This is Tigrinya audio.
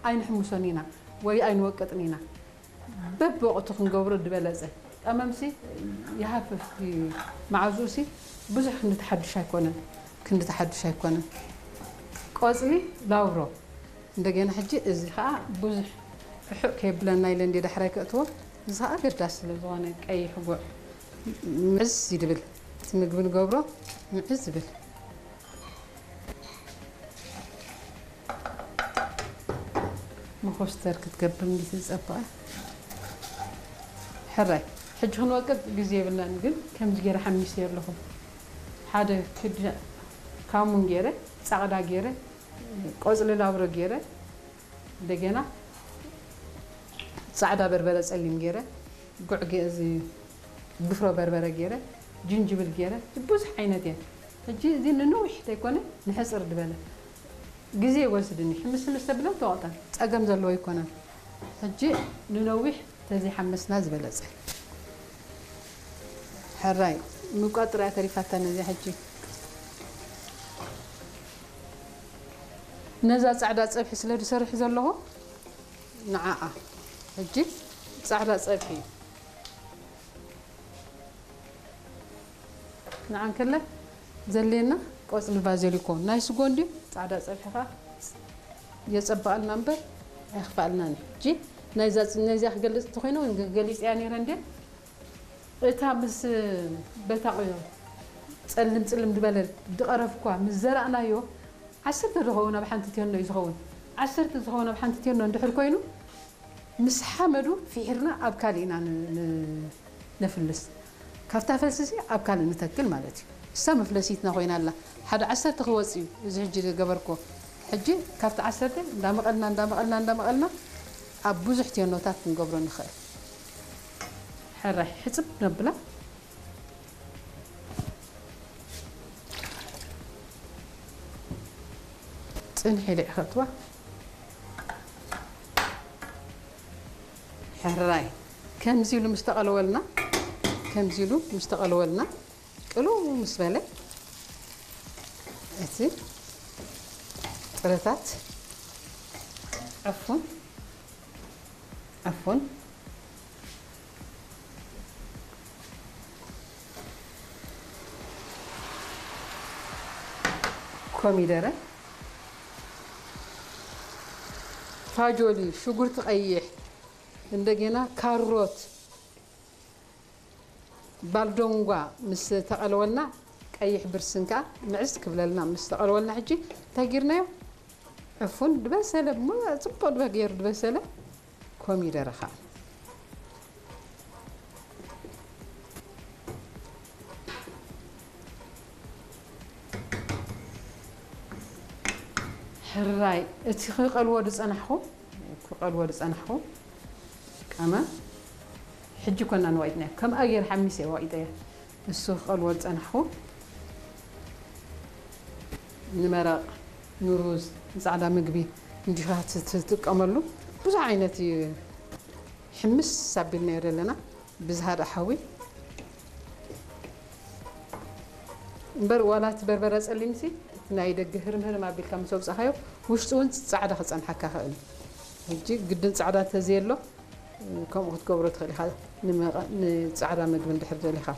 ኣይንሕምሶን ኢና ወይ ኣይንወቅጥን ኢና። በብወቕቱ ክንገብሮ ዝበለጸ። ቀመምሲ ይሃፍፍቲ መዓዝኡሲ ብዙሕ ክንዲ ተሓድሽ ኣይኮነን፣ ክንዲ ተሓድሽ ኣይኮነን። ቆጽሊ ላውሮ እንደገና ሕጂ እዚ ኸኣ ብዙሕ ርሑቕ ከየብለና ኢለ እንደ ዳሕራይ ከእትዎ። እዚ ኸኣ ገዳስ ስለ ዝኾነ ቀይሕ ጉዕ ምዕዝ ይድብል፣ እቲ ምግቢ ንገብሮ ምዕዝ ይብል። መኾስተር ክትገብር እንዲ ትጸበቐ። ሕራይ ሕጂ ክንወቅጥ ግዜ የብልናን፣ ግን ከምዚ ገይረ ሓሚሰዮ ኣለኹ። ሓደ ክዲ ካሙን ገይረ፣ ጻቕዳ ገይረ፣ ቆጽሊ ላብሮ ገይረ፣ እንደገና ጻዕዳ በርበረ ጸሊም ገይረ፣ ጉዕ ገ-፣ እዚ ድፍሮ በርበረ ገይረ፣ ጅንጅብል ገይረ፣ ብዙሕ ዓይነት እየ። ሕጂ እዚ ንነዊሕ ተይኮነ ንሕጽር ዝበለ ግዜ ይወስድኒ። ሕምስ ሕምስ ተብለን ተወቕጠን ጸገም ዘለዎ ኣይኮነን። ሕጂ ንነዊሕ ተዘይሓመስና ዝበለጸ። ሕራይ ምቋጥር እያ ተሪፋታ ነዚኣ ሕጂ። ነዛ ጻዕዳ ጸብሒ ስለ ዝሰርሕ ዘለኹ ንዓኣ ሕጂ ጻዕዳ ጸብሒ ንዓን ከለ ዘድልየና ቆጽሊ ባዘሊኮ ናይ ስጎ እንድዩ። ጻዕዳ ጸብሒ ኸኣ የጸብቐልና እምበር ኣየኽፍኣልናን እዩ። ሕጂ ናይዛ፣ ናይዚኣ ክገልጽ እንተኾይነ እውን ገሊጸያ ነይረ እንድየ። እታ ምስ በታ ጸልም ጽልም ዝበለ ዝቐረፍኳ ምስ ዘራእናዮ ዓሰርተ ዝኸውን ኣብ ሓንቲ ቴኖ እዩ ዝኸውን። ዓሰርተ ዝኸውን ኣብ ሓንቲ ቴኖ እንድሕር ኮይኑ ምስ ሓመዱ ፊሒርና ኣብ ካልእ ኢና ን-፣ ን-፣ ነፍልስ። ካብታ ፈልስሲ ኣብ ካልእ ንተክል ማለት እዩ። እሳ መፍለሲትና ኮይና ኣላ። ሓደ ዓሰርተ ክወጽእ እዩ እዚ ሕጂ ዝገበርኮ። ሕጂ ካብቲ ዓሰርተ እንዳመቐልና፣ እንዳመቐልና፣ እንዳመቐልና ኣብ ብዙሕ ቴኖታት ክንገብሮ ንኽእል። ሕራይ ሕጽብ ነብላ። ጽንሒ ኢለ እየ ከእትዋ። ሕራይ ከምዚ ኢሉ ምስ ተቐለወልና፣ ከምዚ ኢሉ ምስ ተቐለወልና፣ ቅልው ምስ በለ እቲ ጥረታት ዕፉን፣ ዕፉን፣ ኮሚደረ፣ ፋጆሊ፣ ሽጉርቲ ቀይሕ፣ እንደገና ካሮት፣ ባልዶንጓ ምስ ተቐለወልና፣ ቀይሕ ብርስን ከኣ ምዕዝ ክብለልና ምስ ተቐለወልና፣ ሕጂ እንታይ ጌርናዮ? ዕፉን ዝበሰለ፣ እሞ ጽቡቕ ድበ-፣ ገይሩ ዝበሰለ ኮሚደረ ከኣ። ሕራይ፣ እቲ ክቐልዎ ዝጸናሕኹ፣ ክቐልዎ ዝጸናሕኹ ቀመም፣ ሕጂ ኮና ንዋይጥናዮ። ከምኣ ገይረ ሓሚሰ ዋይጠያ። እሱ ክቐልዎ ዝጸናሕኹ ንመረቕ፣ ንሩዝ፣ ንጻዕዳ ምግቢ እንዲኻ ት-፣ ትጥቀመሉ። ብዙሕ ዓይነት እዩ። ሕምስ ኣቢልናዮ ዘለና ብዝሃ ደኣ ሓዊ። እምበር ዋላ እቲ በርበረ ጸሊምሲ፣ እቲ ናይ ደገ ህርም ህርም ኣቢልካ ምስ ኣውጻኻዮ፣ ውሽጡ እውን ጻዕዳ ክጸንሓካ ይኽእል እዩ። ሕጂ ግድን ጻዕዳ እንተዘየሎ፣ ከምኡ ክትገብሮ ትኽእል ኢኻ። ንመቐ-፣ ንጻዕዳ ምግቢ እንድሕር ደሊኻ።